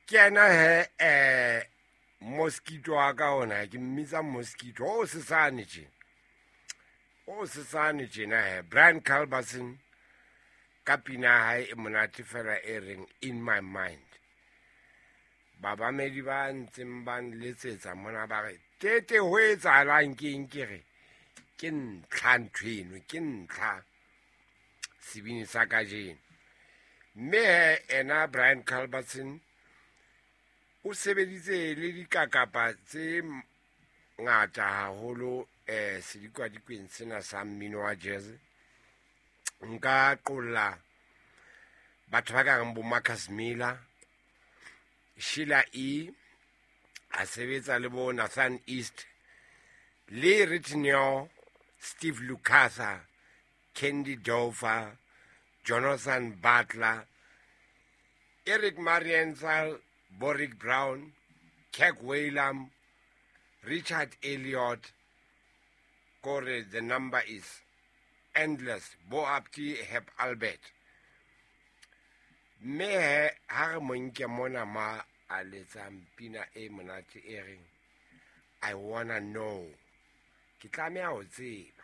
Ke yena he mosquito wa ka ona, ke mmitsa mosquito o sesane tje, o sesane tjena he, Brian Culbertson ka pina ya hae e monate fela e reng "In My Mind". Babamedi ba ntseng ba nletsetsa mona ba re, "Tete, ho etsahalang ke eng?" Ke re ke ntlha ntho eno, ke ntlha sebini sa kajeno. Mme he ena Brian Culbertson o sebeditse le dikakapa tse ngata haholo sedikwadikweni sena sa mmino wa jazz. Nka qolla batho ba ka reng bo Marcus Miller, Sheila E, a sebetsa le bo Nathan East, Lee Ritenour, Steve Lukather, Candy Dulfer, Jonathan Butler, Eric Marienthal, Boric Brown, Kirk Whalum, Richard Elliot, kore the number is endless, bo Apti Herb Alpert. Mme he ha re mo nke mona ma a letsang pina e monate e reng "I Wanna Know", ke tlameha ho tseba.